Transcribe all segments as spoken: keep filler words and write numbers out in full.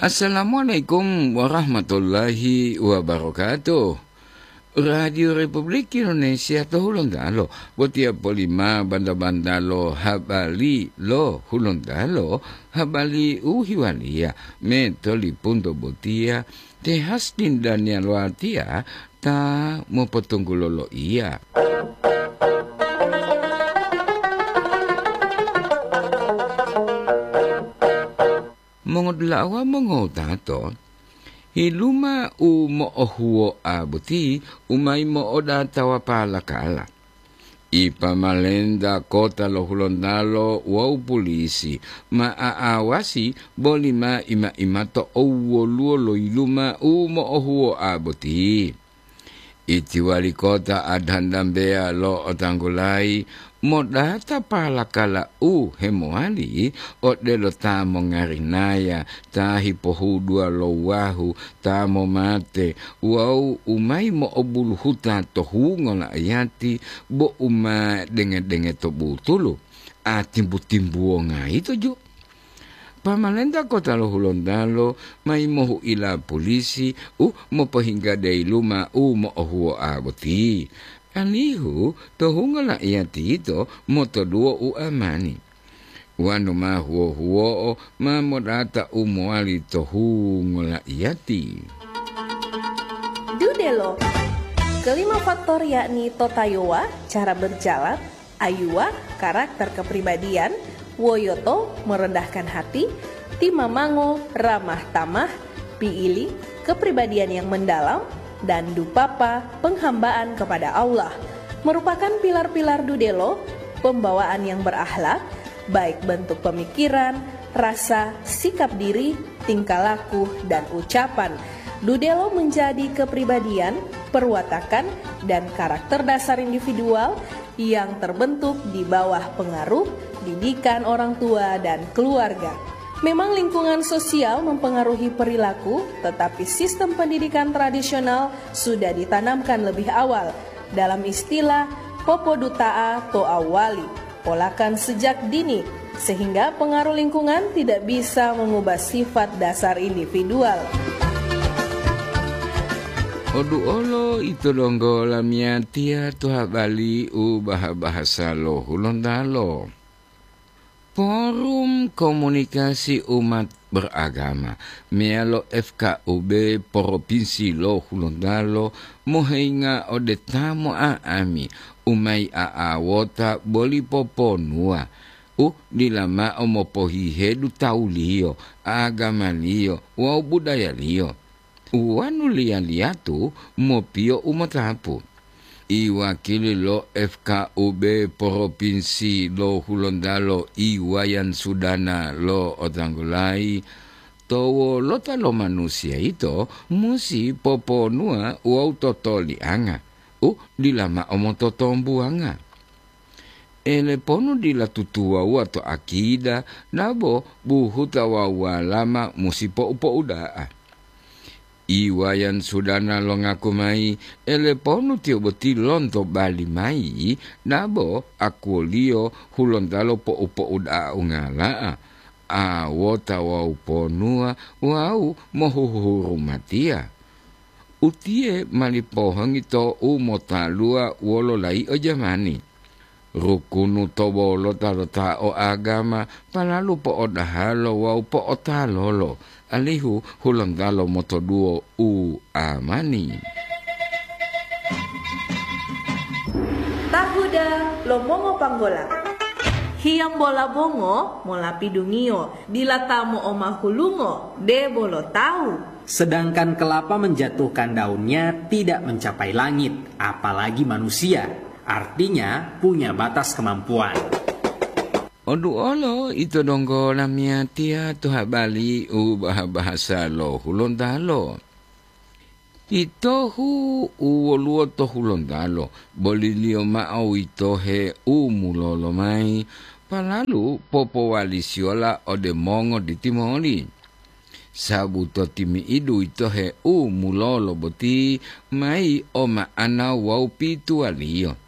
Assalamualaikum warahmatullahi wabarakatuh. Radio Republik Indonesia to Hulontalo, botiya polima banda-banda lo habari lo Hulontalo, habari u hiwaliya me tolipunto botiya, te Hastin Daniel Watia ta mopotunggulo loiya. Mongodula'a mongowutato, yiluma u mo'ohuwoa boti u mayi mo'odatawa palakala. Ipamalenta kota lo Hulontalo wawu pulisi ma a'awasi boli ma ima-imato owwoluwo lo yiluma u mo'ohuwoa boti. Iti wali kota adhandambeya lo otanggulayi modata palakala u hemowali odelo ta mongarinaya, ta hipohuduwa lo wahu, ta momate wawu u mayi mo'obuluhuta to hungo la'ayati bo u ma denge-denge to butulu, a timbu-timbuwonga yito ju. Pamalenta kota lo Hulontalo mayi mohu'ila polisi u mopohingga dayiluma u mo'ohuwoa boti, alihu to hungo la'iyati yito motoduwo u amani. Wanu ma huwo-huwo'o ma modata u mowali to hungo la'iyati. Dudelo. Kelima faktor yakni totayowa, cara berjalan, ayuwa, karakter kepribadian, woyoto, merendahkan hati, timamango, ramah tamah, piili, kepribadian yang mendalam, dan dupapa, penghambaan kepada Allah, merupakan pilar-pilar dudelo, pembawaan yang berakhlak, baik bentuk pemikiran, rasa, sikap diri, tingkah laku, dan ucapan. Dudelo menjadi kepribadian, perwatakan, dan karakter dasar individual yang terbentuk di bawah pengaruh didikan orang tua dan keluarga. Memang lingkungan sosial mempengaruhi perilaku, tetapi sistem pendidikan tradisional sudah ditanamkan lebih awal. Dalam istilah, popoduta'a to awali, polakan sejak dini, sehingga pengaruh lingkungan tidak bisa mengubah sifat dasar individual. Oduolo ito donggo lamiyatiya to habari u baha-bahasa lo Hulontalo. Forum Komunikasi Umat Beragama meyalo F K U B Propinsi lo Hulontalo mohenga ode ta mo'a'ami u mayi a'awota boli poponuwa u dila mao mopohihedu tawuliyo, agamaliyo wawu budayaliyo. Wonu liya-liyatu mopiyo u motapu. Iwakili lo F K U B Propinsi lo Hulontalo, Iwayan Sudana lo otanggulayi, to wolota lo manusiya yito musi poponuwa wawu totolianga u dila mao mototombuwanga. Eleponu dila tutuwawuwa to akida, dabo buhuta wawu walama musi po'u-po'uda'a. Iwayan Sudana longaku mayi, eleponu tiyo boti lonto bali mayi, dabo akuwoliyo Hulontalo po'u-po'uda'a ungala'a, awota wawu ponuwa wawu mohuhurumatiya. Utiye mali pohongi to u motaluwa wolo layi'o jamani. Rukunu to wolota lo ta o agama palalu po'odahalo wawu po'otalolo, alihu Hulontalo motoduwo u amani. Tahuda lo mongopanggola. Hiyambola bongo mola pidungiyo, dila ta mo'omahulungo, debo lo tawu. Sedangkan kelapa menjatuhkan daunnya tidak mencapai langit, apalagi manusia. Artinya, punya batas kemampuan. Oduolo ito donggo lamiyatiya to habari u baha-bahasa lo Hulontalo. Itohu u woluwo to Hulontalo, boliliyo mao witohe u mulolo mayi, palalu popowalisiyola ode mongo ditimoli. Sabu to timi'idu witohe u mulolo boti mayi o ma'ana wawu pituwaliyo.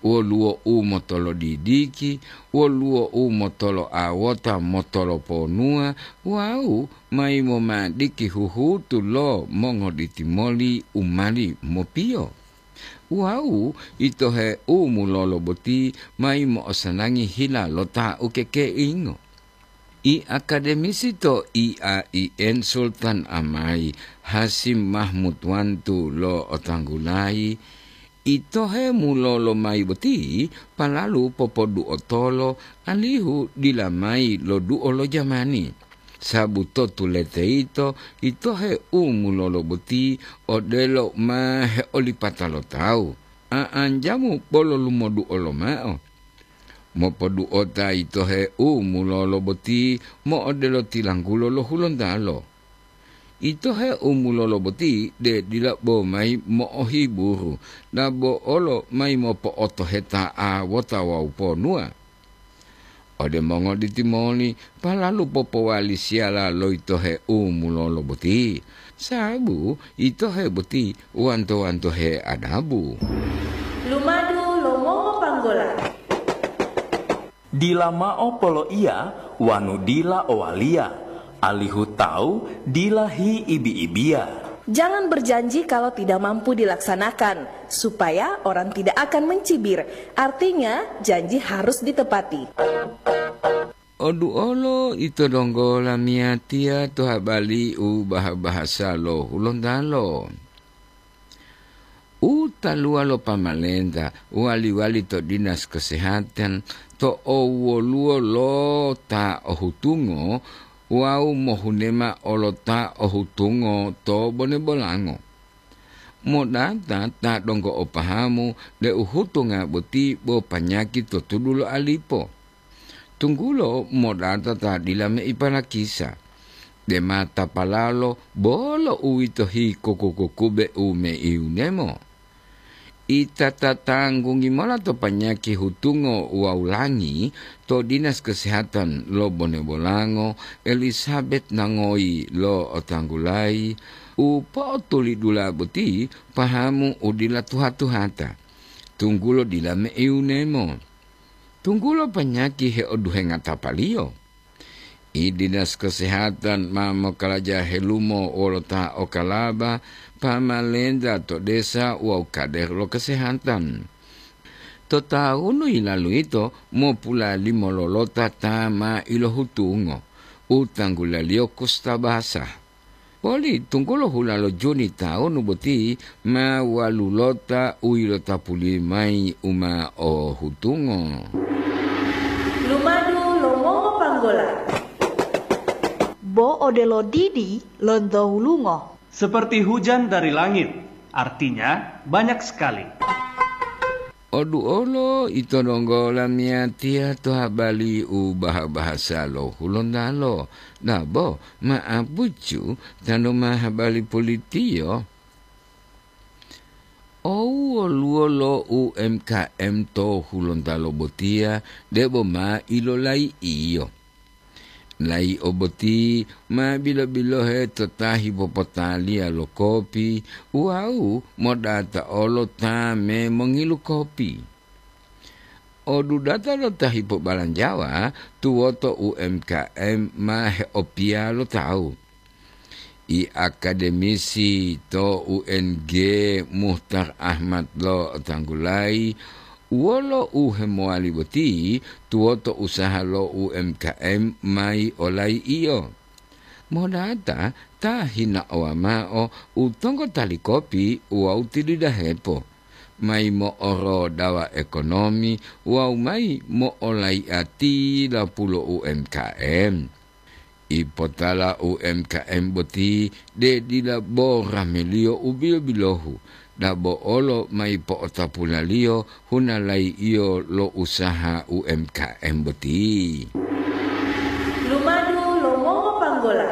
Woluwo u motolodidiki, woluwo u motoloawota motoloponuwa wawu mayi momadiki huhutu lo mongoditimoli u mali mopiyo. Wawu itohe u mulolo boti mayi mo'osanangi hila lo ta ukekeingo. I akademisi to I A I N Sultan Amai Hasim Mahmud Wantu lo'otanggulayi, itohe mulolo mayi boti palalu popoduotolo alihu dila mayi loduo lo jamani. Sabu to tulete yito, itohe u mulolo boti odelo ma heolipata lo tawu, a'anjamu bolo lumoduo lomao. Mopoduota itohe u mulolo boti mo'odelo tilanggulo lo Hulontalo. Itohe u mulolo boti de dila bo mayi mo'ohiburu, dabo olo mayi mopo'otoheta'a wota wawu ponuwa. Ode mongoditimoli, palalu popowali siyala lo itohe u mulolo boti, sabu itohe boti wanto-wantohe adabu. Lumadu lo mongopanggola. Dila mao poloiya wanu dila owaliya, alihu tawu dila hiibi-ibiya. Jangan berjanji kalau tidak mampu dilaksanakan, supaya orang tidak akan mencibir. Artinya, janji harus ditepati. Oduolo ito donggo lamiyatiya to habali u baha-bahasa lo Hulontalo. U taluwa lo pamalenta wali-wali to dinas kesehatan to owoluwo lo ta ohutungo wawu mohunema olo ta ohutungo to bone-bolango. Modata ta donggo o pahamu deu hutunga boti bo panyaki to tudu lo alipo. Tunggulo modata ta dila meipanakisa, dema tapalalo bolo uwito hikoko-kokube u meiunemo. Ita tatanggungi mola to panyaki hutungo wawu langi to dinas kesehatan lo Bone-Bolango, Elisabet Nangoyi lo Otanggulayi, u po'otulidula boti pahamu u dila tuha-tuhata, tunggulo dila meiunemo. Tunggulo panyaki heoduhenga tapaliyo. I dinas kesehatan ma mokaraja helumo wolo ta okalaba, pamalenta to desa wawu kader lo kesehatan. To tawunu yilalu yito mopulalimo lolota ta ma ilohutungo, u tanggulaliyo kustabasa. Poli tunggulo hula lo Juni tawunu boti ma walulota u yilotapuli mayi u ma o hutungo. Lumadu lo mongopanggola. Bo odelo didi lonto wulungo. Seperti hujan dari langit, artinya banyak sekali. Oduolo ito donggo lamiyatiya to habali u baha-bahasa lo Hulontalo, dabo ma'apucu tanu ma habali pulitiyo. Owoluwo lo U M K M to Hulontalo botiya debo ma ilolai'iyo. Layi'o boti ma bilo-bilohe to ta hipopotaliya lo kopi wawu modata olo ta me mongilu kopi. Odudata lo ta hipobalanjawa tuwoto U M K M ma heopiya lo tawu. I akademisi to U N G Muhtar Ahmad lo tanggulayi wolo u hemowali boti tuwoto usaha lo U M K M mayi olayi'iyo. Modata ta hinaowa mao u tonggotali kopi wawu tilidahepo, mayi mo'orodawa ekonomi wawu mayi mo'olayi'ati lapulo U M K M. Ipotala U M K M boti de dila bo rameliyo u bilo-bilohu, dabo olo mayi po'otapulaliyo hunalayi'iyo lo usaha U M K M boti. Lumadu lo mongopanggola.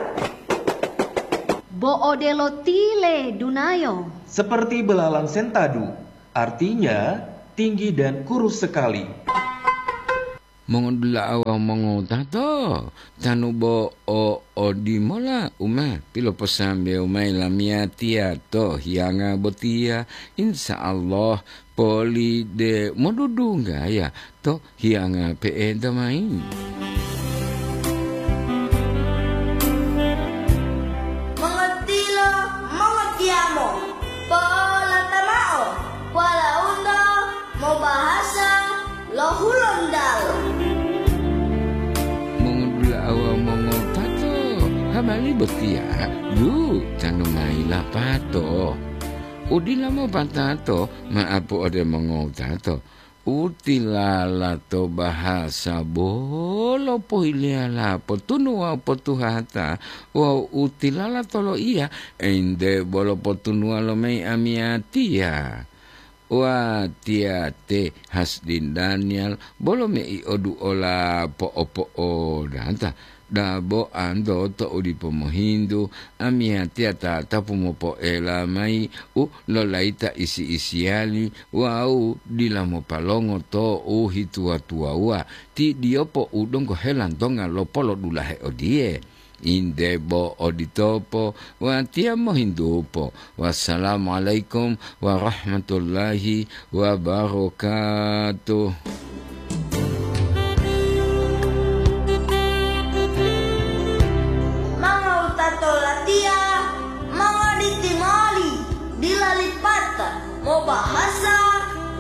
Bo odelo tile dunayo. Seperti belalang sentadu, artinya tinggi dan kurus sekali. Mongodula'a wawu mongowutato, tanu bo o odimola u ma piloposambewu mayi lamiyatiya to hiyanga botiya, insya Allah poli de modudunggaya to hiyanga pe'enta mayi. Mongotilo, mongotiyamo, po'olata mao, walaundo mobahasa lo Hulontalo. Mongodula'a wawu mongotato, habari botiya dutanu mayi lapato. Udila mopatato ma'apu ode mongotato, utilala to bahasa bolo pohiliyala potunu wawu potuhata, wawu utilala to loiya, ente bolo potunuwa lo mayi amiyatiya. Watiya te Hasdin Daniel bolo mei oduola po'o-po'odata, dabo anto to'u dipo mohintu, amiyatiya tatapu mopoela mayi u lolayita isi-isiyali wawu dila mopalongo to u hituwa-tuwawuwa, ti diyopo u donggo helantonga lopolodulahe odiye. Inde bo oditopo, watiya mohintupo. Wassalamualaikum warahmatullahi wabarakatuh. Mongowutato latiya, mongoditi moli, dila lipata, mobahasa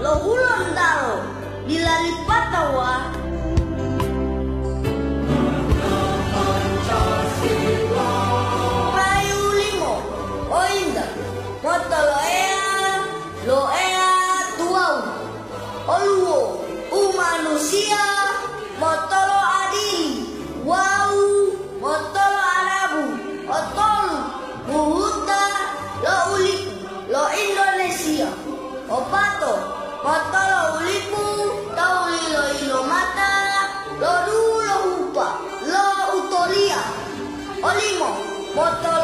lo Hulontalo. Dilalipatawa. Payu limo, o inta, motoloeya, loeya tuwawu, oluwo, umanusiya, motolo adili, wawu motolo Arabu, otolu, buhuta lo ulipu lo Indonesia. Opato, motolo ulipu to u lilo-ilomata lo dulo hupa lo utoliya. Olimo, motolo